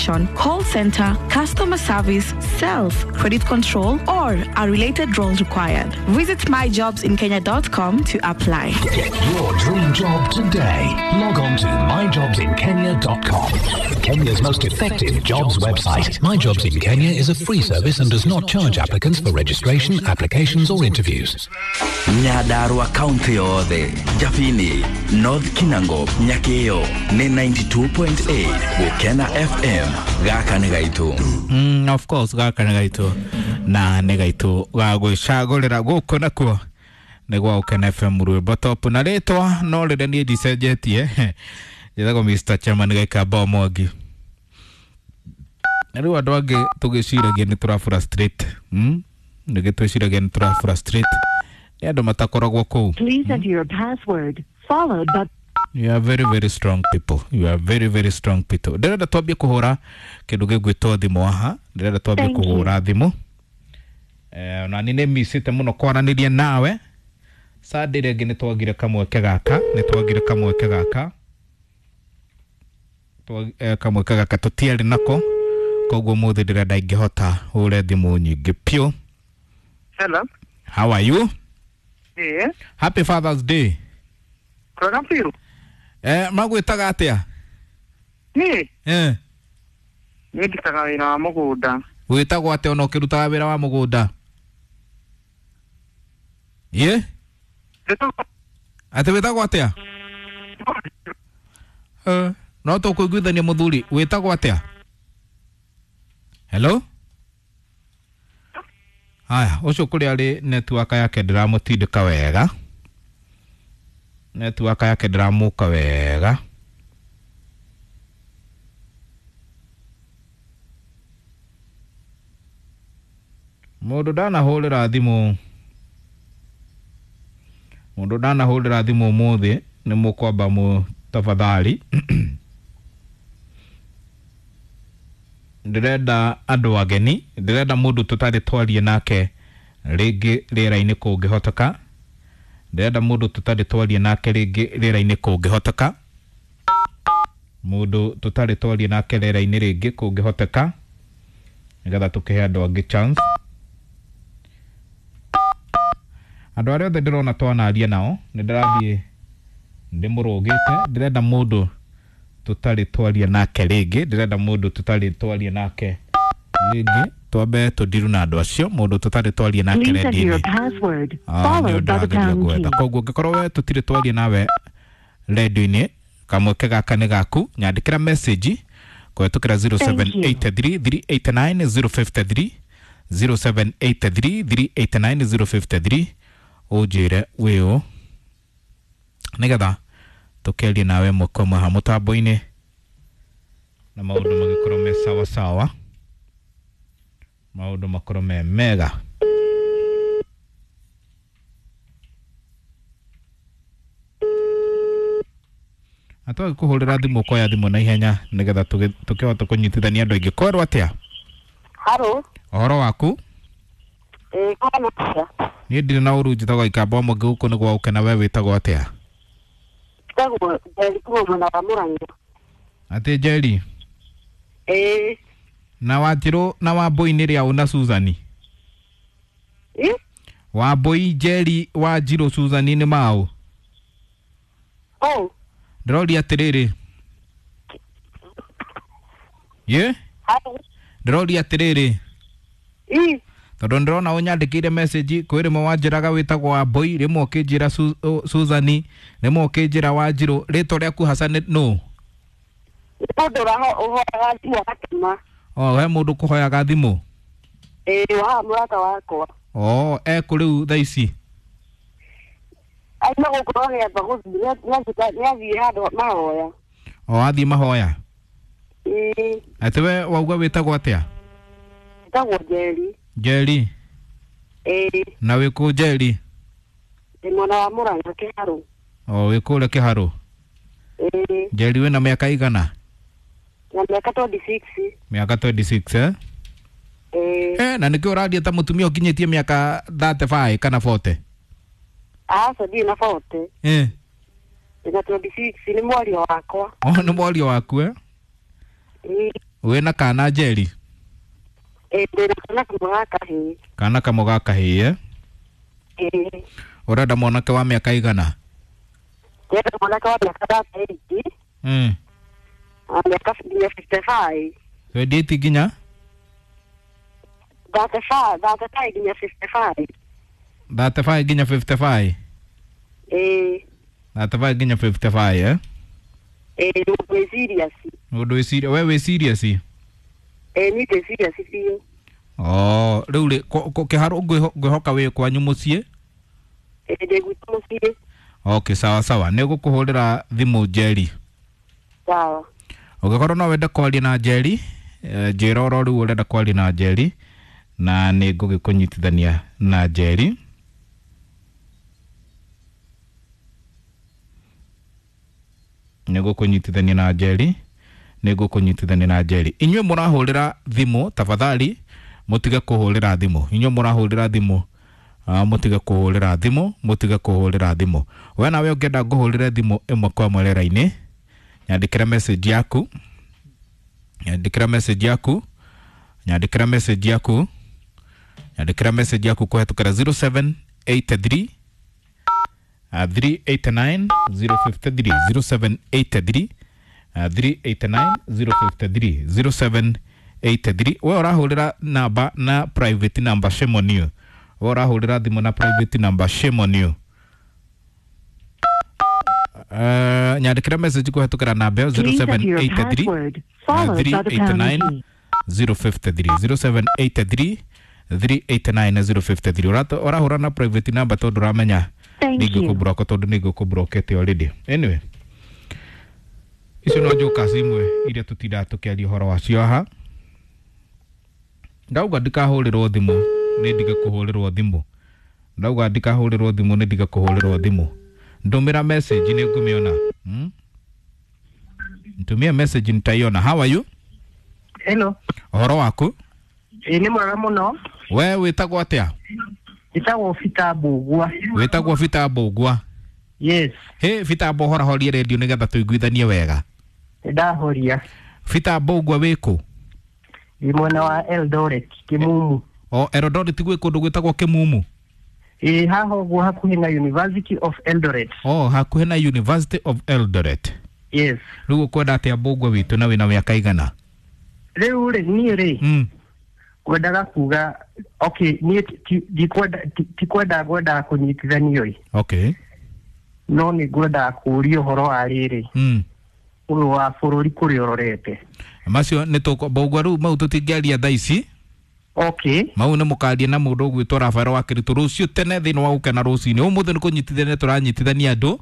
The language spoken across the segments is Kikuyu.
administration, call center, customer service, sales, credit control, or a related role required. Visit myjobsinkenya.com to apply. Get your dream job today. Log on to myjobsinkenya.com. Kenya's most effective jobs website. My Jobs in Kenya is a free service and does not charge applicants for registration, applications, or interviews. Nyandarua kaunti yothe, Jabini, North Kinango, Nyakio nĩ 92.8 Gũkena FM. Gaka nĩ gaitũ. Of course gaka nĩ gaitũ na nĩ gaitũ ga gwĩcagũrĩra gũkũ nakuo nĩ gwa Gũkena FM rwĩmbo top na rĩtwa no rĩrĩa niĩ ndicenjetie njĩtagwo Mr. Chairman Gĩkamba Mwangi. Na rĩu andũ angĩ tũgĩciragia nĩ tũra frustrate, Nĩgĩ twĩciragia nĩ tũra frustrate nĩ andũ matakoragwo kũu. Please enter your password, followed by You are very very strong people. You are very very strong people. Ndĩrenda twambie kũhũra kĩndũ gĩgwĩtwo thimũ haha. Ndĩrenda twambie Thank you. kũhũra thimũ. Na nĩ nĩmicĩte mũno kwaranĩria nawe. Sunday rĩngĩ nĩ twagire kamweke gaka, nĩ twagire kamweke gaka. Kamweke gaka tũtiarĩ nako. Koguo ũmũthĩ ndĩrenda ingĩhota hũre thimũ nyingĩ piũ. Hello. How are you? Yes. Happy Father's Day. Kwega biũ. Magwĩtaga atĩa? Niĩ Eh. niĩ ndutaga wĩra wa mũgũnda. Wĩtagwo atĩa ona ũkĩrutaga wĩra wa mũgũnda? Ye? Ndĩtagwo- Atĩ wĩtagwo atĩa? No tũkũiguithania mũthuri, wĩtagwo atĩa? Hello? Haya, ũcio kũrĩa arĩ network yake ndĩramũtindĩka wega. Network yake ndĩramũka wega. Mũndũ ndanahũrĩra thimũ, mũndũ ndanahũrĩra thimũ ũmũthĩ nĩ mũkwamba mũ tafadhali. Ndĩrenda andũ ageni, ndĩrenda mũndũ tũtarĩ twarie nake rĩngĩ rĩera-inĩ kũngĩhoteka. Ndĩrenda mũndũ tũtarĩ twarie nake rĩngĩ rĩera-inĩ kũngĩhoteka. Mũndũ tũtarĩ twarie nake rĩera-inĩ rĩngĩ kũngĩhoteka, nĩgetha tũkĩhe andũ angĩ chance. Andũ arĩa othe ndĩrona twanaria nao nĩ ndĩrathiĩ ndĩmũrũgĩte. Ndĩrenda mũndũ tũtarĩ twaria nake rĩngĩ, ndĩrenda mũndũ tũtarĩ twaria nake rĩngĩ, twambe tũndiru na andũ acio, mũndũ tũtarĩ twaria nake Please enter your redio-inĩ. password, Nĩ followed by the ndĩrageria pound gwetha. key. Koguo ũngĩkorwo we tũtirĩ twaria nawe redio-inĩ, kamweke gaka nĩ gaku, nyandĩkĩra message kũhetũkĩra 0783 389 053, 0783 389 053, ũnjĩre wĩũ nĩgetha tũkĩarie nawe ĩmwe kwa ĩmwe haha mũtambo-inĩ na maũndũ magĩkorwo me sawa sawa, maũndũ makorwo me mega. Na twagĩkũhũrĩra thimũ ũkoya thimũ na ihenya nĩgetha tũkĩhote kũnyitithania andũ aingĩ. Kwerwo atĩa? Haro. Ũhoro waku? Ĩĩ, kwana atĩa? Niĩ ndirĩ na ũru, njĩtagwo Ikamba Mwangi, gũkũ nĩ gwa Gũkena. We wĩtagwo atĩa? Njĩtagwo Njeri kuma mwena wa Mũrang'a. Atĩ Njeri? Ĩĩ. Na Wanjirũ na Wambũi nĩ rĩaũ na Suzani? Ĩ? Wambũi, Njeri, Wanjirũ, Suzani nĩ maũ? Oh. Ndĩroria atĩrĩrĩ. Ye? Haro. Ndĩroria atĩrĩrĩ. Ĩ? Tondũ ndĩrona ũnyandĩkĩire message kwĩ rĩmwe wanjĩraga wĩtagwo Wambũi, rĩmwe ũkĩnjĩra Suzani, rĩmwe ũkĩnjĩra Wanjirũ. Rĩtwa rĩaku haca nĩ nũ? Nĩ mũndũ ũhoyaga thimũ agatũma. O, he mũndũ ũkũhoyaga thimũ? Ĩĩ, wa haha mũrata wakwa. O, ekũ rĩu thaa ici? Auma gũkũ no nĩamba gũthiĩ, nĩathiĩ handũ mahoya. O, athiĩ mahoya? Ĩĩ. Atĩ we wauga wĩtagwo atĩa? Njĩtagwo Njeri. Njeri? Ĩĩ. Na wĩ kũ Njeri? Ndĩ mwena wa Mũrang'a Kĩharũ. O, wĩ kũrĩa Kĩharũ? Ĩĩ. Njeri wĩna mĩaka igana? Na mĩaka 26. Mĩaka 26, eh? Ĩĩ. Na nĩkĩo ũraria ta mũtumia ũkinyĩtie mĩaka 35 kana 40? Aca, ndirĩ na 40. Eh. Ndĩna 26, nĩ mwario wakwa. O, nĩ mwario waku, eh? Ĩĩ. Wĩna kana Njeri? Ĩĩ, ndĩna kana kamwe ga kahĩĩ. Kana kamwe ga kahĩĩ? Ĩĩ. Ũrenda mwanake wa mĩaka igana? Ndĩrenda mwanake wa mĩaka 38. Na mĩaka nginya 55. 28 nginya? 35, 35 nginya 55. 35 nginya 55? Ĩĩ. 35 nginya 55, eh? Ĩĩ, mũndũ wĩ serious. Mũndũ wĩ serious, we wĩ serious? Ĩĩ, niĩ ndĩ serious biũ. Oh, rĩu rĩ, kĩharũ ngwĩhoka wĩ kwanyu mũciĩ? Ĩĩ, ndĩ gwitũ mũciĩ. Okay, sawa sawa. Nĩ ngũkũhũrĩra thimũ Njeri. Sawa. Ũngĩkorwo no wende kwaria na Njeri, njĩra oro rĩu ũrenda kwaria na Njeri, na nĩ ngũgĩkũnyitithania na Njeri. Nĩ ngũkũnyitithania na Njeri, nĩ ngũkũnyitithania na Njeri. Inyuĩ mũrahũrĩra thimũ, tafadhali mũtige kũhũrĩra thimũ. Inyuĩ mũrahũrĩra thimũ, mũtige kũhũrĩra thimũ, mũtige kũhũrĩra thimũ. We nawe ũngĩenda ngũhũrĩre thimũ ĩmwe kwa ĩmwe rĩera-inĩ, nyandĩkĩra message yaku, nyandĩkĩra message yaku, nyandĩkĩra message yaku, nyandĩkĩra message yaku kũhetũkĩra 0783 389 053, 0783 389 053, 0783. We ũrahũrĩra namba na private number, shame on you. We ũrahũrĩra thimũ na private number, shame on you. Nyandĩkĩra message kũhetũkĩra namba ĩyo Please enter your 0783 password, followed by the pound 389 key. 053, 0783 389 053. Ũrahũra na private number tondũ ũramenya Thank you. nĩngũkũblock, tondũ nĩngũkũblockete already. Anyway, icio no njoka imwe iria tũtindaga tũkĩaria ũhoro wacio haha. Ndauga ndikahũrĩrwo thimũ, nĩ ndige kũhũrĩrwo thimũ. Ndauga ndikahũrĩrwo thimũ, nĩ ndige kũhũrĩrwo thimũ. Ndũmĩra message nĩ ngũmĩona. Nitumie message nitaiona. How are you? Hello. Ũhoro waku? Ĩĩ, nĩ mwega mũno. We wĩtagwo atĩa? Njĩtagwo Peter Mbũgua. Wĩtagwo Peter Mbũgua? Yes. Hĩ, Peter Mbũgua, horahorie redio nĩgetha tũiguithanie wega. Nĩndahoria. Peter Mbũgua wĩkũ? Ndĩ mwena wa Eldoret, Kĩmumu. O Eldoret gwĩ kũndũ gwĩtagwo Kĩmumu? Ĩĩ, haha ũguo hakuhĩ na University of Eldoret. O hakuhĩ na University of Eldoret. Yes. Rĩu ũkwenda atĩa Mbũgua witũ, na wĩna mĩaka igana? Rĩu rĩ, niĩ rĩ, ngwendaga kuga, okay, niĩ ndikwenda, tikwenda ngwendaga kũnyitithanio ĩ. Okay. No nĩ ngwendaga kũũria ũhoro wa rĩrĩ. Ũyũ wa bũrũri kũrĩa ũrorete. Macio nĩ tũkũ Mbũgua rĩu mau tũtingĩaria thaa ici. Okay. Mau nĩ mũkaria na mũndũ ũgwĩtwo Rafael wa Kĩritũ rũciũ tene thĩinĩ wa gũkena rũcinĩ. Ũmũthĩ nĩ kũnyitithania tũranyitithania andũ.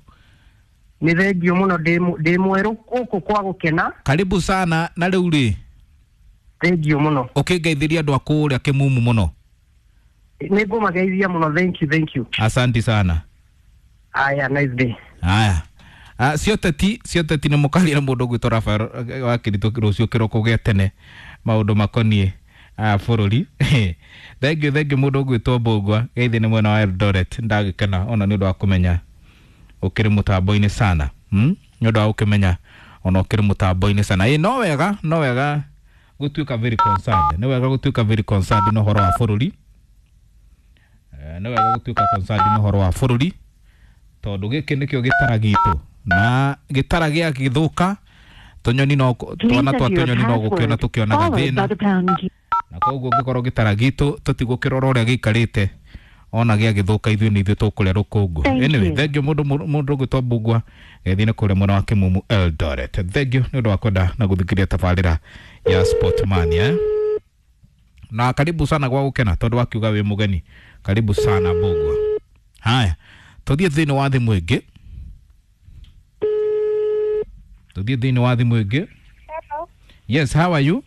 Nĩ thengio mũno, ndĩ mwerũ gũkũ kwa gũkena. Karibu sana. Na rĩu rĩ, Thengio mũno. Ũkĩngeithĩria andũ a kũrĩa Kĩmumu mũno. Nĩ ngũmageithia mũno. Thank you, thank you. Asanti sana. Aya, nice day. Aya. Cioteti nĩ mũkaria na mũndũ ũgwĩtwo Rafael wa Kĩritũ rũciũ kĩroko gĩa tene maũndũ makoniĩ bũrũri. Thank you, thank you mũndũ ũgwĩtwo Mbũgua geithi nĩ mwena wa Eldoret. Ndagĩkena ona nĩ ũndũ wa kũmenya ũkĩrĩ mũtambo-inĩ sana. Nĩ ũndũ wa gũkĩmenya ona ũkĩrĩ mũtambo-inĩ sana. Ĩ, no wega, no wega gũtuĩka very concerned. Nĩ wega gũtuĩka very concerned na ũhoro wa bũrũri. Nĩ wega gũtuĩka concerned na ũhoro wa bũrũri tondũ gĩkĩ nĩkĩo gĩtara gitũ, na gĩtara gĩagĩthũka tũnyoni no twana twa tũnyoni no gũkĩona tũkĩonaga thĩna, na koguo ũngĩkorwo gĩtara gitũ tũtigũkĩrora ũrĩa gĩikarĩte ona gĩagĩthũka ithuĩ nĩ ithuĩ tũkũrĩa rũkũngũ. Anyway, thank you mũndũ ũgwĩtwo Mbũgua gĩthiĩ nĩ kũrĩa mwena wa Kĩmumu Eldoret. Thank you nĩ ũndũ wa kwenda na gũthikĩrĩria tabarĩra ya Sportmania, Na karibu sana gwa gũkena tondũ wakiuga wĩ mũgeni. Karibu sana Mbũgua. Haya, tũthiĩ thĩinĩ wa thimũ ĩngĩ. Tũthiĩ thĩinĩ wa thimũ ĩngĩ. Hello. Yes, how are you?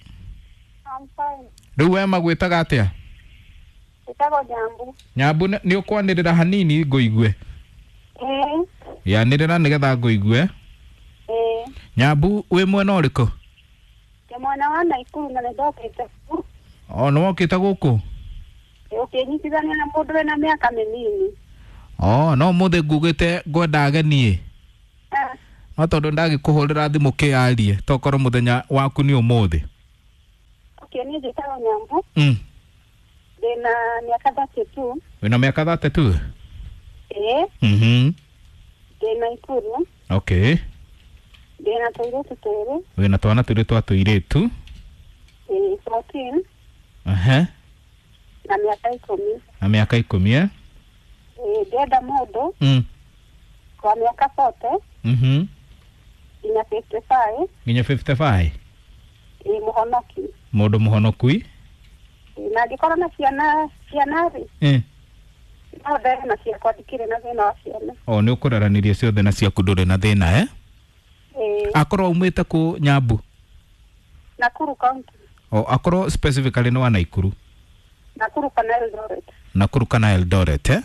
I'm fine. Rĩu we magwĩtaga atĩa? Njĩtagwo Nyambu. Nyambu, nĩ ũkwanĩrĩra hanini ngũigue. Ĩĩ. Yanĩrĩra nĩgetha ngũigue. Ĩĩ. Nyambu, wĩ mwena ũrĩkũ? Ndĩ mwena wa Naikuru na nĩndokĩte. O nĩ wokĩte gũkũ? Ũkĩnyitithania na mũndũ wĩna mĩaka mĩnini. O no mũthĩ ngugĩte ngwenda ageni. No tondũ ndagĩkũhũrĩra thimũ kĩarie tokorwo mũthenya waku nĩ ũmũthĩ. Okay, niĩ njĩtagwo Nyambu. Ndĩna mĩaka 32. Wĩna mĩaka 32? Ĩĩ. Ndĩ Naikuru. Okay. Ndĩna tũirĩtu twĩrĩ. Wĩna twana twĩrĩ twa tũirĩtu? Ĩĩ, 14. Ehe. Na mĩaka 10. Na mĩaka 10, eh? Ĩĩ, ndĩrenda mũndũ wa mĩaka 40 nginya 55. Nginya 55? Ĩĩ, mũhonoki. Mũndũ mũhonoku? Ĩĩ, na angĩkorwo na ciana ciana rĩ, no ndere na ciakwa, ndikĩrĩ na thĩna wa ciana. O nĩ ũkũraranĩria ciothe na ciaku ndũrĩ na thĩna, eh? Ĩĩ. Akorwo aumĩte kũ, Nyambu? Nakuru County. O akorwo specifically nĩ wa Naikuru? Nakuru kana Eldoret. Nakuru kana Eldoret, eh?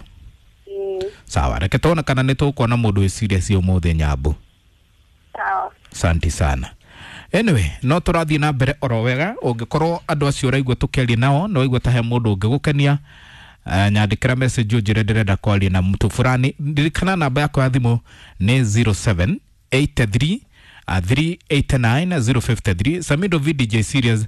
Ĩĩ. Sawa, reke tuone kana nĩ tũkuona mũndũ wĩ serious ũmũthĩ, Nyambu. Sawa. Asante sana. Anyway, no tũrathiĩ na mbere oro wega. Ũngĩkorwo andũ acio ũraigua tũkĩaria nao no waigua ta he mũndũ ũngĩgũkenia, nyandĩkĩra message ũnjĩre ndĩrenda kwaria na mtu fulani. Ririkana namba yakwa ya thimũ nĩ 0783 389 053. Samido VDJ series,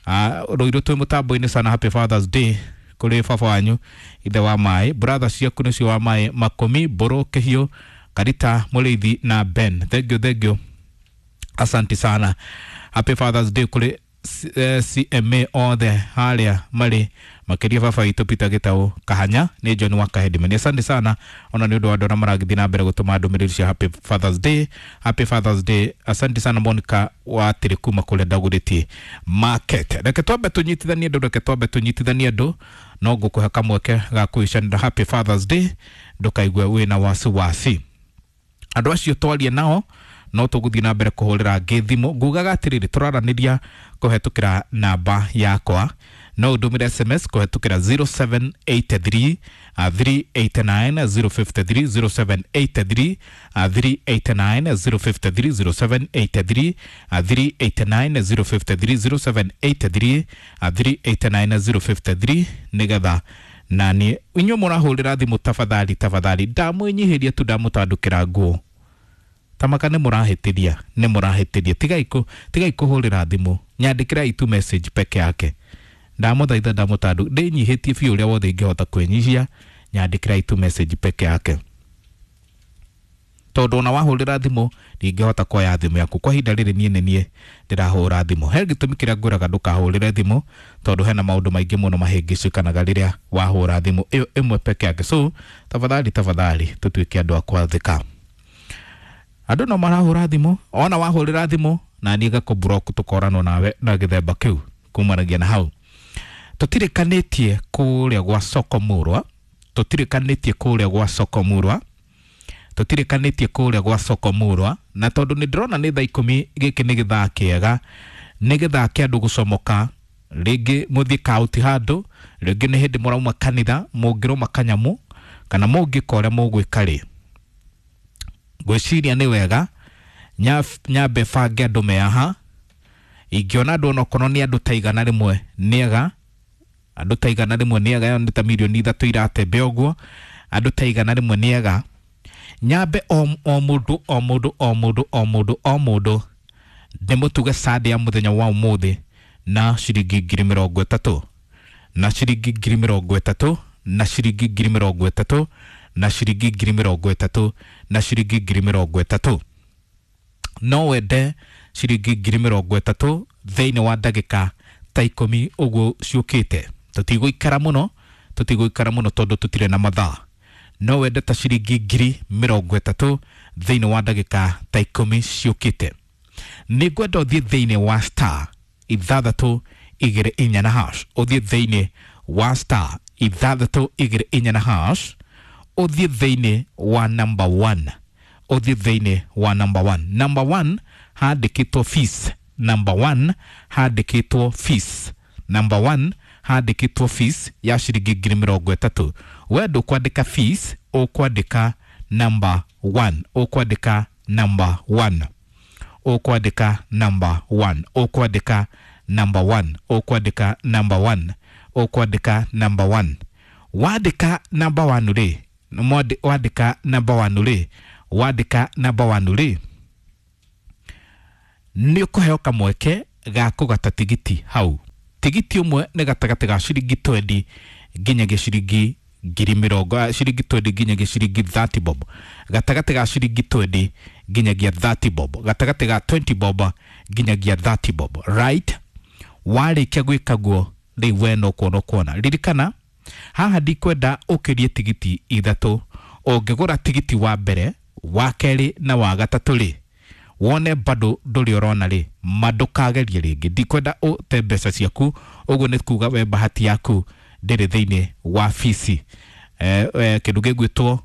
rũirũ twĩ mũtambo-inĩ sana. Happy Fathers Day kũrĩ baba wanyu ithe wa maĩ, brother ciaku nĩcio wa maĩ Makũmi, Mbũrũ, Kĩhiũ, Karita, Mũrĩithi na Ben. Thank you, thank you, asante sana. Happy Fathers Day kũrĩ CMA othe harĩa marĩ, makĩria baba witũ Peter Gĩtaũ Kahanya. Nĩ John wa Kahedimeni. Asante sana ona nĩ ũndũ wa andũ arĩa maragĩthiĩ na mbere gũtũma ndũmĩrĩri cia Happy Fathers Day, Happy Fathers Day. Asante sana Monica wa Tĩrĩ kuma kũrĩa Ndagũrĩtie Market. Reke twambe tũnyitithanie andũ, reke twambe tũnyitithanie andũ, no ngũkũhe kamweke ga kũicanĩra Happy Fathers Day, ndũkaigue wĩna wasiwasi. Andũ acio twarie nao no tũgũthiĩ na mbere kũhũrĩra angĩ thimũ. Ngugaga atĩrĩrĩ, tũraranĩria kũhetũkĩra namba yakwa, no ũndũmĩre SMS kũhetũkĩra 0783 389 053, 0783 389 053, 0783 389 053, 0783 389 053, nĩgetha nani inyuĩ mũrahũrĩra thimũ, tafadhali, tafadhali, ndamwĩnyihĩria tu, ndamũtandũkĩra nguo tamaka nĩ mũrahĩtĩria, nĩ mũrahĩtĩria. Tigai kũhũrĩra thimũ, nyandĩkĩra itu message peke yake. Ndamũthaitha, ndamũtandũ, ndĩnyihĩtie biũ ũrĩa wothe ingĩhota kwĩnyihia. Nyandĩkĩra itu message peke yake, tondũ ona wahũrĩra thimũ ndingĩhota kuoya thimũ yaku kwa ihinda rĩrĩ. Niĩ nĩ niĩ ndĩrahũra thimũ. He gĩtũmi kĩrĩa ngwĩraga ndũkahũrĩre thimũ, tondũ hena maũndũ maingĩ mũno mahĩngĩcĩkanaga rĩrĩa wahũra thimũ ĩyo ĩmwe peke yake. So tafadhali, tafadhali, tũtuĩke andũ a kwathĩka. Andũ no marahũra thimũ, ona wahũrĩra thimũ na niĩ ngakũ-block, tũkoranwo nawe na gĩthemba kĩu kumanagia na hau. Tũtirĩkanĩtie kũrĩa gwa soko mũrwa, tũtirĩkanĩtie kũrĩa gwa soko mũrwa, tũtirĩkanĩtie kũrĩa gwa soko mũrwa. Na tondũ nĩ ndĩrona nĩ thaa 10, gĩkĩ nĩ gĩthaa kĩega, nĩ gĩthaa kĩa andũ gũcomoka, rĩngĩ mũthiĩ kauti handũ, rĩngĩ nĩ hĩndĩ mũrauma kanitha, mũngĩrũma kanyamũ kana mũngĩka ũrĩa mũgwĩka rĩ, ngwĩciria nĩ wega nyambe bange andũ me haha. Ingĩona andũ onokorwo nĩ andũ ta 100 nĩega, andũ ta 100 nĩega, ĩyo nĩ ta mirioni 3 iratembea ũguo. Andũ ta 100 nĩega, nyambe o mũndũ, o mũndũ, o mũndũ, o mũndũ, o mũndũ ndĩmũtuge Sunday ya mũthenya wa ũmũthĩ na ciringi 30,000, na ciringi 30,000, na ciringi 30,000, na ciringi 30,000, na ciringi 30,000. No wende ciringi 30,000 thĩinĩ wa ndagĩka ta 10 ũguo ciũkĩte? Tũtigũikara mũno, tũtigũikara mũno tondũ tũtirĩ na mathaa. No wende ta ciringi 30,000 thĩinĩ wa ndagĩka ta 10 ciũkĩte? Nĩ ngwenda ũthiĩ thĩinĩ wa star 624 na hash, ũthiĩ thĩinĩ wa star 624 na hash, ũthiĩ thĩinĩ wa number 1, ũthiĩ thĩinĩ wa number 1. Number 1 handĩkĩtwo fees, number 1 handĩkĩtwo fees, number 1 handĩkĩtwo fees ya ciringi 30,000. We ndũkwandĩka fees, ũkwandĩka number 1, ũkwandĩka number 1, ũkwandĩka number 1, ũkwandĩka number 1, ũkwandĩka number 1, ũkwandĩka number 1. Wandĩka number 1 rĩ, wandĩka number 1 rĩ, wandĩka number 1 rĩ, nĩ ũkũheo kamweke ga kũgata tigiti hau. Tigiti ũmwe nĩ gatagatĩ ga ciringi 20 nginyagia ciringi ngiri mĩrongo, ciringi 20 nginyagia ciringi 30 bob, gatagatĩ ga ciringi 20 nginyagia 30 bob, gatagatĩ ga 20 bob nginyagia 30 bob, right? Warĩkia gwĩka guo rĩu we no kuona ũkuona. Ririkana haha ndikwenda ũkĩrie tigiti ithatũ. Ũngĩgũra tigiti wa mbere, wa kerĩ na wa gatatũ rĩ, wone bado ndũrĩ ũrona rĩ, ma ndũkagerie rĩngĩ. Ndikwenda ũte mbeca ciaku, ũguo nĩ kuga we bahati yaku ndĩrĩ thĩinĩ wa bici, kĩndũ gĩgwĩtwo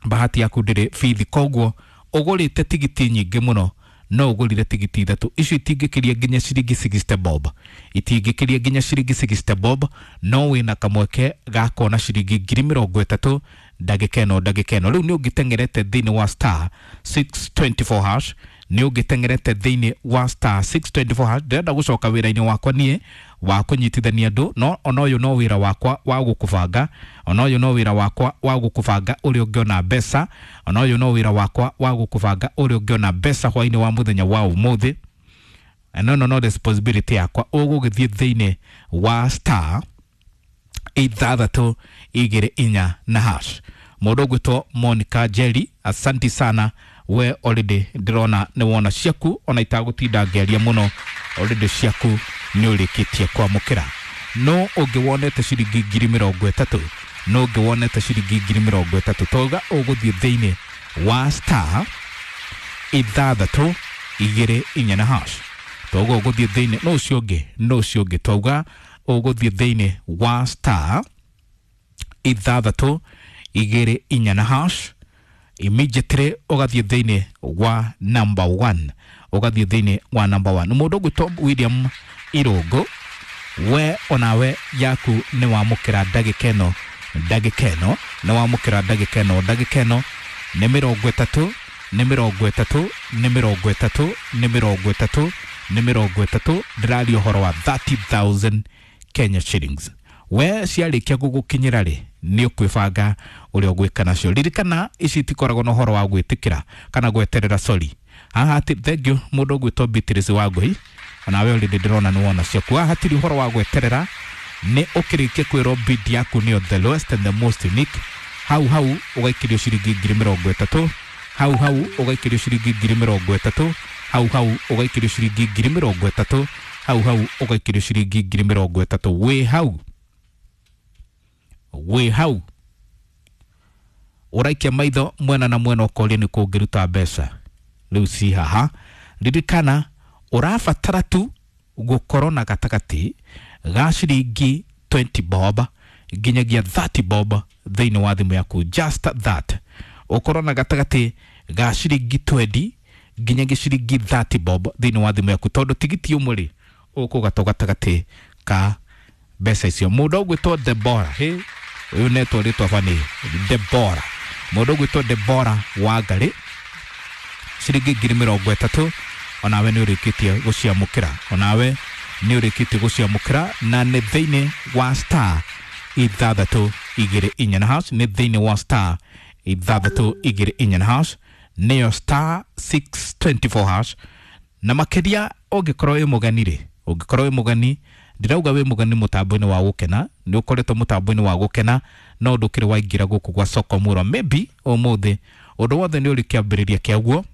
bahati yaku ndĩrĩ bithi. Koguo ũgũrĩte tigiti nyingĩ mũno, no ũgũrire tigiti ithatũ, icio itingĩkĩria nginya ciringi 60 bob, itingĩkĩria nginya ciringi 60 bob, no wĩna kamweke ga kuona ciringi 30,000 ndagĩka ĩno, ndagĩka ĩno. Rĩu nĩ ũngĩteng'erete thĩinĩ wa star 624 hash, nĩ ũngĩteng'erete thĩinĩ wa star 624 hash. Ndĩrenda gũcoka wĩra-inĩ wakwa niĩ wa kũnyitithania andũ, no ona ũyũ no wĩra wakwa wa gũkũbanga, ona ũyũ no wĩra wakwa wa gũkũbanga ũrĩa ũngĩona mbeca, ona ũyũ no wĩra wakwa wa gũkũbanga ũrĩa ũngĩona mbeca hwaĩ-inĩ wa mũthenya wa ũmũthĩ. No no no responsibility yakwa. Ũgũgĩthiĩ thĩinĩ wa star 624 na hash. Mũndũ ũgwĩtwo Monica Jerry, asanti sana we, already ndĩrona nĩ wona ciaku, ona itagũtinda ngĩaria mũno, already ciaku nĩ ũrĩkĩtie kwamũkĩra. No ũngĩ wonete ciringi 30,000, no ũngĩ wonete ciringi 30,000, twauga ũgũthiĩ thĩinĩ wa star 624 na hash. Twauga ũgũthiĩ thĩinĩ, no ũcio ũngĩ, no ũcio ũngĩ, twauga ũgũthiĩ thĩinĩ wa star 624 na hash, immediately ũgathiĩ thĩinĩ wa number 1, ũgathiĩ thĩinĩ wa number 1. Mũndũ ũgwĩtwo William Irũngũ, we onawe yaku nĩ wamũkĩra ndagĩka ĩno, ndagĩka ĩno nĩ wamũkĩra ndagĩka ĩno, ndagĩka ĩno nĩ 30, nĩ 30, nĩ 30, nĩ 30, nĩ 30. Ndĩraria ũhoro wa 30,000 Kenya shillings. We ciarĩkia gũgũkinyĩra rĩ, nĩ ũkwĩbanga ũrĩa ũgwĩka nacio. Ririkana ici itikoragwo na ũhoro wa gwĩtĩkĩra kana gweterera, sorry. Haha thank you mũndũ ũgwĩtwo Beatrice Wangũi, onawe already ndĩrona nĩ wona ciaku. Haha hatirĩ ũhoro wa gweterera, nĩ ũkĩrĩkia kwĩrwo bid yaku nĩyo the lowest and the most unique, hau hau ũgaikĩrio ciringi 30,000, hau hau ũgaikĩrio ciringi 30,000, hau hau ũgaikĩrio ciringi 30,000, hau hau ũgaikĩrio ciringi 30,000. Wĩ hau, wĩ hau ũraikia maitho mwena na mwena ũkoria nĩ kũngĩruta mbeca rĩu ci haha. Ririkana ũrabatara tu gũkorwo na gatagatĩ ga ciringi 20 bob nginyagia 30 bob thĩinĩ wa thimũ yaku, just that. Ũkorwo na gatagatĩ ga ciringi 20 nginyagia ciringi 30 bob thĩinĩ wa thimũ yaku, tondũ tigiti ũmwe rĩ ũkũgatwo gatagatĩ ka mbeca icio. Mũndũ ũgwĩtwo Debora, hĩ ũyũ netwo rĩtwa bani Debora, mũndũ ũgwĩtwo Debora Wangari, ciringi 30,000, onawe nĩ ũrĩkĩtie gũciamũkĩra, onawe nĩ ũrĩkĩtie gũciamũkĩra, na nĩ thĩinĩ wa star 624 na hash, nĩ thĩinĩ wa star 624 na hash, nĩyo star 624 hash. Na makĩria ũngĩkorwo wĩ mũgeni rĩ, ũngĩkorwo wĩ mũgeni, ndirauga wĩ mũgeni mũtambo-inĩ wa gũkena, nĩ ũkoretwo mũtambo-inĩ wa gũkena no ndũkĩrĩ waingĩra gũkũ gwa soko mũro, maybe ũmũthĩ ũndũ wothe nĩ ũrĩ kĩambĩrĩria kĩaguo,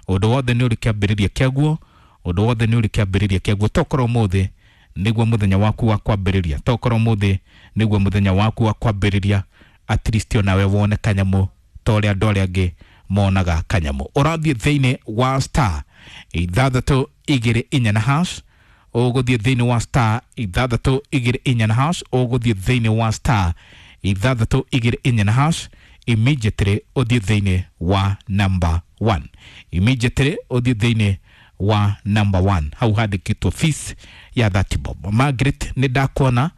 ũndũ wothe nĩ ũrĩ kĩambĩrĩria kĩaguo, ũndũ wothe nĩ ũrĩ kĩambĩrĩria kĩaguo. Tokorwo ũmũthĩ nĩguo mũthenya waku wa kwambĩrĩria, tokorwo ũmũthĩ nĩguo mũthenya waku wa kwambĩrĩria, at least onawe wone kanyamũ ta ũrĩa andũ arĩa angĩ monaga kanyamũ. Ũrathiĩ thĩinĩ wa star 624 na hash, ũgũthiĩ thĩinĩ wa star 624 na hash, ũgũthiĩ thĩinĩ wa star 624 na hash, immediately ũthiĩ thĩinĩ wa number 1, immediately ũthiĩ thĩinĩ wa number 1, hau handĩkĩtwo fees ya 30 bob. Margaret nĩ ndakuona,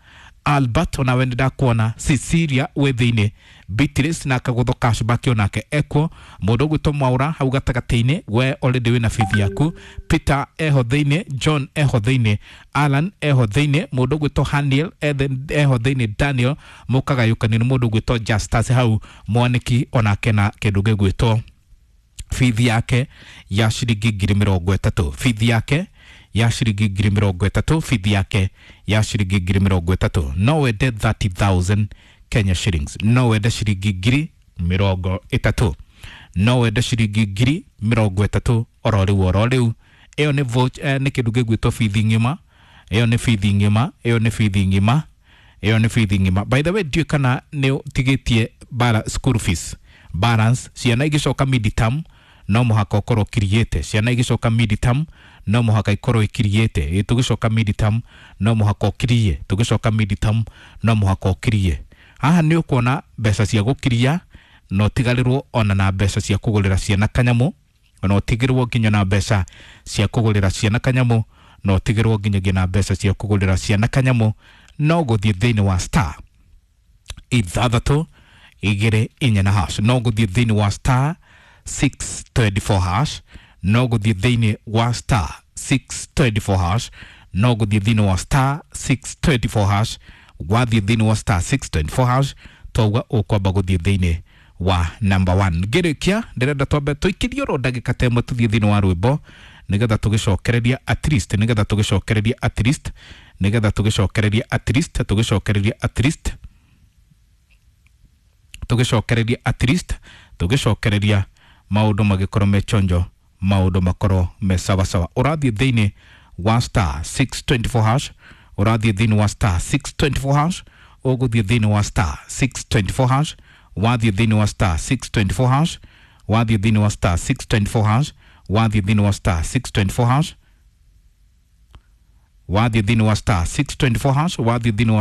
Albert onawe nĩ ndakuona, Cecilia wĩ thĩinĩ, Beatrice na kagũtho cashback onake ekuo, mũndũ ũgwĩtwo Mwaura hau gatagatĩ-inĩ, we already wĩna bithi yaku, Peter eho thĩinĩ, John eho thĩinĩ, Alan eho thĩinĩ, mũndũ ũgwĩtwo Haniel eho thĩinĩ, Daniel mũkagayũkanio nĩ mũndũ ũgwĩtwo Justus hau mwanĩki onake na kĩndũ gĩgwĩtwo bithi yake ya ciringi 30,000, bithi yake ya ciringi 30,000, bithi yake ya ciringi 30,000. No wende 30,000 Kenya shillings, no wende ciringi 30,000, no wende ciringi 30,000 oro rĩu oro rĩu. Ĩyo nĩ nĩ kĩndũ gĩgwĩtwo bithi ng'ima. Ĩyo nĩ bithi ng'ima, ĩyo nĩ bithi ng'ima, ĩyo nĩ bithi ng'ima. By the way, ndiũĩ kana nĩ ũtigĩtie bara school fees balance. Ciana igĩcoka mid-term no mũhaka ũkorwo ũkiriĩte. Ciana igĩcoka mid-term no mũhaka ikorwo ikiriĩte. Ĩ tũgĩcoka mid-term no mũhaka ũkirie, tũgĩcoka mid-term no mũhaka ũkirie. Haha nĩ ũkuona mbeca cia gũkiria na ũtigarĩrwo ona na mbeca cia kũgũrĩra ciana kanyamũ, na ũtigĩrwo nginya na mbeca cia kũgũrĩra ciana kanyamũ, na ũtigĩrwo nginyagia na mbeca cia kũgũrĩra ciana kanyamũ. No gũthiĩ thĩinĩ wa star 624 na hash, no gũthiĩ thĩinĩ wa star 624 hash, no gũthiĩ thĩinĩ wa star 624 hash, no gũthiĩ thĩinĩ wa star 624 hash. Wathiĩ thĩinĩ wa star 624 hash, twauga ũkwamba gũthiĩ thĩinĩ wa number 1. Ngĩrĩkia ndĩrenda twambe tũikĩrie oro ndagĩka ta ĩmwe tũthiĩ thĩinĩ wa rwĩmbo, nĩgetha tũgĩcokereria at least, nĩgetha tũgĩcokereria at least, nĩgetha tũgĩcokereria at least, tũgĩcokereria at least, tũgĩcokereria at least, tũgĩcokereria maũndũ magĩkorwo me chonjo, maũndũ makorwo me sawasawa. Ũrathiĩ thĩinĩ wa star 624 hash, ũrathiĩ thĩinĩ wa star 624 hash, ũgũthiĩ thĩinĩ wa star 624 hash, wathiĩ thĩinĩ wa star 624 hash, wathiĩ thĩinĩ wa star 624 hash, wathiĩ thĩinĩ wa star 624 hash, wathiĩ thĩinĩ wa star 624 hash, wathiĩ thĩinĩ wa